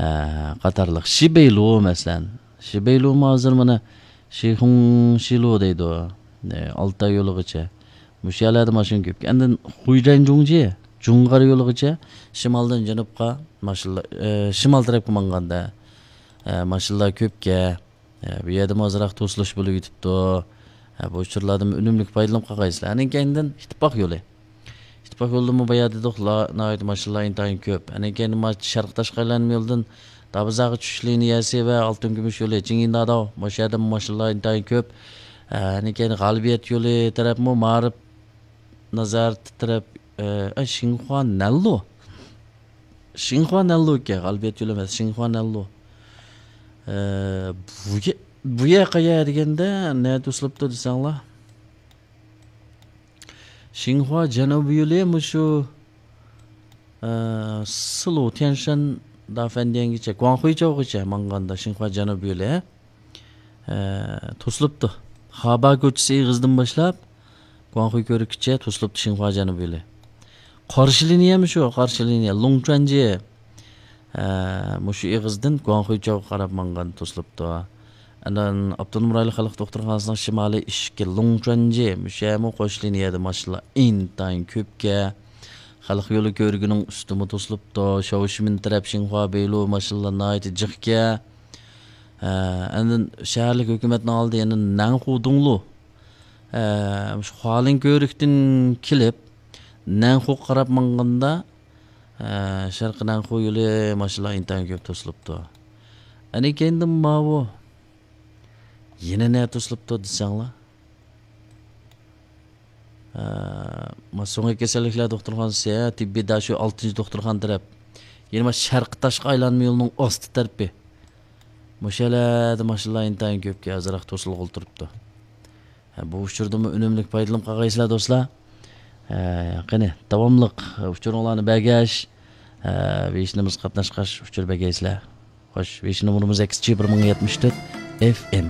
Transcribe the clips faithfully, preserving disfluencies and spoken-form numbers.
ئە، قاتارلىق. شىبەيلۇ، مەسىلەن. شىبەيلۇمۇ ھازىر مانا شىخۇڭ شىلۇ دەيدۇ. ئە، ئالتاي يولىغىچە. مۇشۇ يەرلەردە ماشىنا كۆپ. ئاندىن خۇيجەنجۇڭجى، جۇڭغار يولىغىچە شىمالدىن جەنۇبقا ماشىنىلار، ئە، شىمال تەرەپكە ماڭغاندا، ئە، ماشىنىلار كۆپكەن. ئە، بۇ يەردىمۇ ئازراق توسۇلۇش بولۇپ يېتىپتۇ. ئە، بۇ ئۇچۇرلاردىن ئۈنۈملۈك پايدىلىنىپ قالغايسىلەر. ئاندىن كەينىدىن ئىتتىپاق يولى. ئىتتىپاق يولىدىمۇ بايا دېدۇق، ناھايىتى ماشىنىلار ئىنتايىن كۆپ. ئاندىن كەينىدىن ما شەرقىي تاشقى ئايلانما يولىدىن دابىزاغا چۈشۈش لىنىيەسى ۋە ئالتۇن كۈمۈش يولى، چىڭيىنداداۋ، مۇشۇ يەردىمۇ ماشىنىلار ئىنتايىن كۆپ. ئە، ئاندىن كەينىدىن غالىبىيەت يولى تەرەپمۇ مائارىپ نازارىتى تەرەپ، ئە، ئە، شىنخۇا نەنلۇ. شىنخۇا نەنلۇ ئىكەن، غالىبىيەت يولى ئەمەس، شىنخۇا نەنلۇ. ئە، بۇ يە-، بۇ يەر قەيەر دېگەندە، نەدە توسۇلۇپتۇ دېسەڭلار. شىنخۇا جەنۇبىي يولى مۇشۇ، ئە، سىلۇ تيەنشەن دافەندىيەنگىچە، گۇاڭخۇيچاۋغىچە ماڭغاندا شىنخۇا جەنۇبىي يولى، ئە، توسۇلۇپتۇ. خابا كوچىسى ئېغىزىدىن باشلاپ، گۇاڭخۇي كۆۋرۈكىچە توسۇلۇپتۇ شىنخۇا جەنۇبىي يولى. قارشى لىنىيەمۇ شۇ، قارشى لىنىيە، لۇڭچۈەنجى. ئە، مۇشۇ ئېغىزدىن گۇاڭخۇيچاۋغا قاراپ ماڭغان توسۇلۇپتۇ. ئاندىن ئاپتونوم رايونلۇق خەلق دوختۇرخانىسىنىڭ شىمالىي ئىشىكى لۇڭچۈەنجى، مۇشۇ يەرمۇ قوش لىنىيەدە ماشىنىلار ئىنتايىن كۆپكەن. خەلق يولى كۆۋرۈكىنىڭ ئۈستىمۇ توسۇلۇپتۇ. شاۋشىمىن تەرەپ شىنخۇا بېيلۇ ماشىنىلار ناھايىتى جىقكەن. ئە، ئاندىن شەھەرلىك ھۆكۈمەتنىڭ ئالدى يەنە نەنخۇ دۇڭلۇ. ئە، مۇشۇ خۇالىن كۆۋرۈكتىن كېلىپ، نەنخۇغا قاراپ ماڭغاندا، ئە، شەرقىي نەنخۇ يولى ماشىنىلار ئىنتايىن كۆپ توسۇلۇپتۇ. ئەنە كەينىدىن ماۋۇ يەنە نە توسۇلۇپتۇ دېسەڭلار. ئە، ما سۆڭەك كېسەللىكلەر دوختۇرخانىسى، ھە، تېببىي داشۇ ئالتىنچى دوختۇرخانا تەرەپ. يەنە ما شەرقىي تاشقى ئايلانما يولىنىڭ ئاستى تەرىپى. مۇشۇ يەرلەردە ماشىنىلار ئىنتايىن كۆپكەن، ئازراق توسۇلغىلى تۇرۇپتۇ. ھە، بۇ ئۇچۇردىنمۇ ئۈنۈملۈك پايدىلىنىپ قالغايسىلەر، دوستلار. ھە، قېنى، داۋاملىق ئۇچۇرۇڭلارنى بەرگەچ، ھە، ۋېيشنىمىزغا قاتناشقاچ ئۇچۇر بەرگەيسىلەر. خوش، ۋېيشن نومۇرىمىز ئەكس جى بىر مىڭ يەتمىش تۆت ئېف ئېم.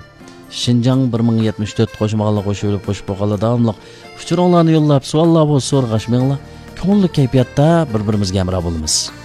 شىنجاڭ بىر مىڭ يەتمىش تۆت قوشمىغانلار قوشۇۋېلىپ، قوشۇپ بولغانلار داۋاملىق ئۇچۇرۇڭلارنى يوللاپ، سوئاللار بولسا سورىغاچ مېڭىڭلار. كۆڭۈللۈك كەيپىياتتا بىر-بىرىمىزگە ھەمراھ بولىمىز.